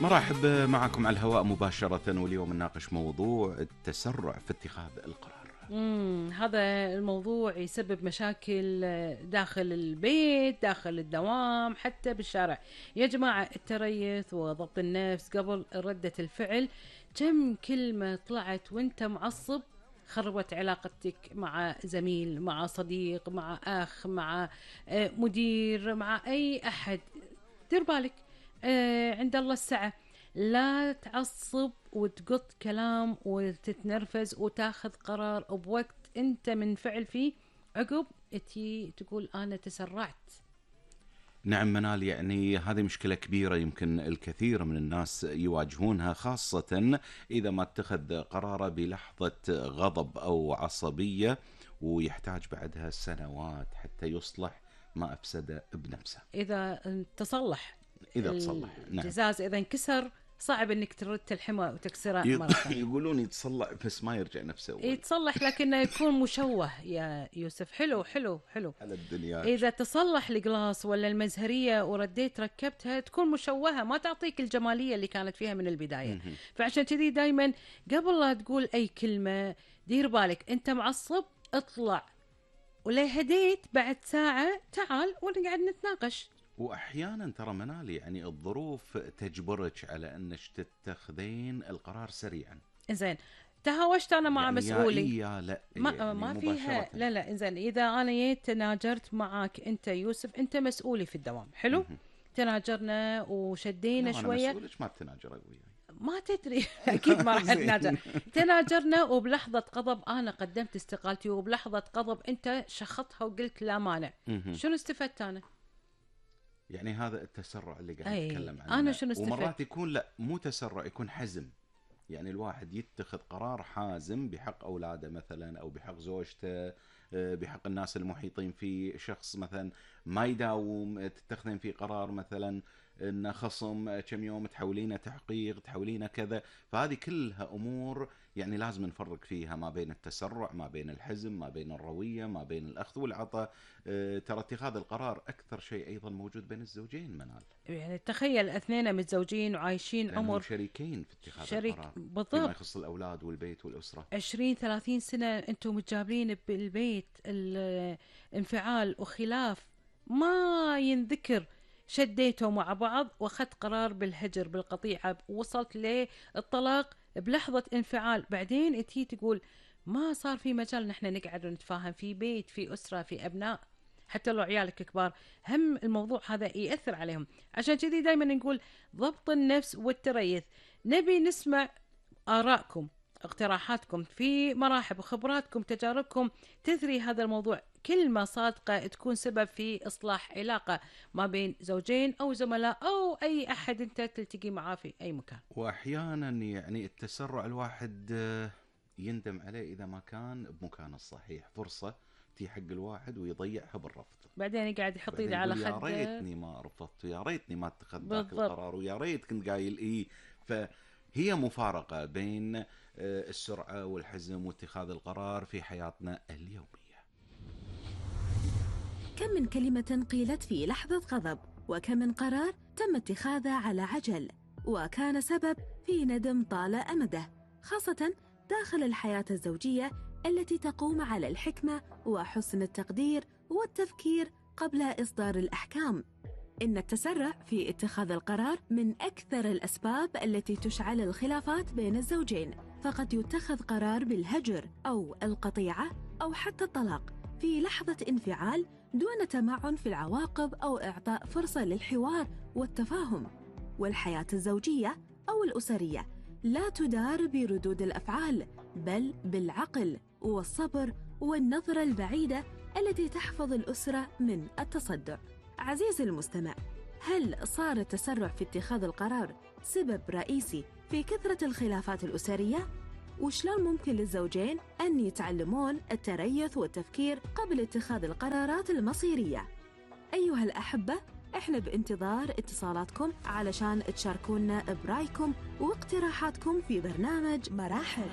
مرحب معكم على الهواء مباشرة، واليوم نناقش موضوع التسرع في اتخاذ القرار. هذا الموضوع يسبب مشاكل داخل البيت، داخل الدوام، حتى بالشارع. يا جماعة، التريث وضبط النفس قبل ردة الفعل. كم كلمة طلعت وانت معصب خربت علاقتك مع زميل، مع صديق، مع أخ، مع مدير، مع أي أحد. دير بالك، عند الله الساعة. لا تعصب وتقط كلام وتتنرفز وتاخذ قرار بوقت انت منفعل فيه، عقب تي تقول انا تسرعت. نعم منال، يعني هذه مشكلة كبيرة يمكن الكثير من الناس يواجهونها، خاصة إذا ما اتخذ قراره بلحظة غضب أو عصبية، ويحتاج بعدها سنوات حتى يصلح ما أفسد بنفسه. إذا تصلح، إذا تصلح، نعم. الجزاز إذا انكسر صعب انك ترد تلحمه وتكسره مرة ثانية. يقولون يتصلح بس ما يرجع نفسه أول. يتصلح لكنه يكون مشوه يا يوسف. حلو حلو حلو. على الدنيا إذا تصلح القلاص ولا المزهرية ورديت ركبتها تكون مشوهة، ما تعطيك الجمالية اللي كانت فيها من البداية. فعشان كذي دايما قبل لا تقول أي كلمة دير بالك. أنت معصب، اطلع، ولا هديت بعد ساعة تعال ونقعد نتناقش. واحيانا ترى منال، يعني الظروف تجبرك على انك تتخذين القرار سريعا. زين، تهاوشت انا مع يعني مسؤولي، يا لا ما فيها. مباشرة. لا انزين، اذا انا جيت تناجرت معك انت يوسف، انت مسؤولي في الدوام، حلو. تناجرنا وشدينا لا، شويه. أنا مسؤولك ما بتناجر وياي، ما تدري. اكيد ما راح نتناجر. تناجرنا وبلحظه غضب انا قدمت استقالتي، وبلحظه غضب انت شخطها وقلت لا مانع. شنو استفدت انا؟ يعني هذا التسرع اللي قاعد نتكلم عنه. انا شنو استفدت؟ ومرات يكون لا، مو تسرع، يكون حزم. يعني الواحد يتخذ قرار حازم بحق اولاده مثلا، او بحق زوجته، بحق الناس المحيطين فيه. شخص مثلا ما يداوم، تتخذين فيه قرار مثلا ان خصم كم يوم تحولينه تحقيق، تحولينه كذا. فهذه كلها امور يعني لازم نفرق فيها ما بين التسرع، ما بين الحزم، ما بين الروية، ما بين الأخذ والعطاء. ترى اتخاذ القرار أكثر شيء أيضا موجود بين الزوجين منال. يعني تخيل اثنين متزوجين وعايشين عمر شريكين في اتخاذ القرار بالضبط، فيما يخص الأولاد والبيت والأسرة. 20-30 سنة أنتم متجابرين بالبيت. الانفعال وخلاف ما ينذكر، شديتوا مع بعض واخذت قرار بالهجر بالقطيعة، وصلت للطلاق بلحظة انفعال. بعدين انتي تقول ما صار في مجال نحن نقعد ونتفاهم في بيت، في أسرة، في أبناء، حتى لو عيالك كبار. هم الموضوع هذا يأثر عليهم. عشان كذي دايما نقول ضبط النفس والتريث. نبي نسمع آرائكم، اقتراحاتكم في مراحل وخبراتكم، تجاربكم تثري هذا الموضوع. كلمة صادقة تكون سبب في إصلاح علاقة ما بين زوجين أو زملاء أو أي أحد أنت تلتقي معاه في أي مكان. وأحيانا يعني التسرع الواحد يندم عليه إذا ما كان بمكان الصحيح. فرصة تي حق الواحد ويضيعها بالرفض، بعدين يقعد يحط ايده على خده. يا ريتني ما رفضت، ويا ريتني ما اتخذت ذاك القرار، ويا ريت كنت قايل إيه. فهي مفارقة بين السرعة والحزم واتخاذ القرار في حياتنا اليومية. كم من كلمة قيلت في لحظة غضب، وكم من قرار تم اتخاذه على عجل وكان سبب في ندم طال أمده، خاصة داخل الحياة الزوجية التي تقوم على الحكمة وحسن التقدير والتفكير قبل إصدار الأحكام. إن التسرع في اتخاذ القرار من أكثر الأسباب التي تشعل الخلافات بين الزوجين، فقد يتخذ قرار بالهجر أو القطيعة أو حتى الطلاق في لحظة انفعال دون تمعن في العواقب أو إعطاء فرصة للحوار والتفاهم. والحياة الزوجية أو الأسرية لا تدار بردود الأفعال، بل بالعقل والصبر والنظرة البعيدة التي تحفظ الأسرة من التصدع. عزيزي المستمع، هل صار التسرع في اتخاذ القرار سبب رئيسي في كثرة الخلافات الأسرية؟ وشلون ممكن للزوجين أن يتعلمون التريث والتفكير قبل اتخاذ القرارات المصيرية؟ أيها الأحبة، إحنا بانتظار اتصالاتكم علشان تشاركونا برأيكم واقتراحاتكم في برنامج مراحل.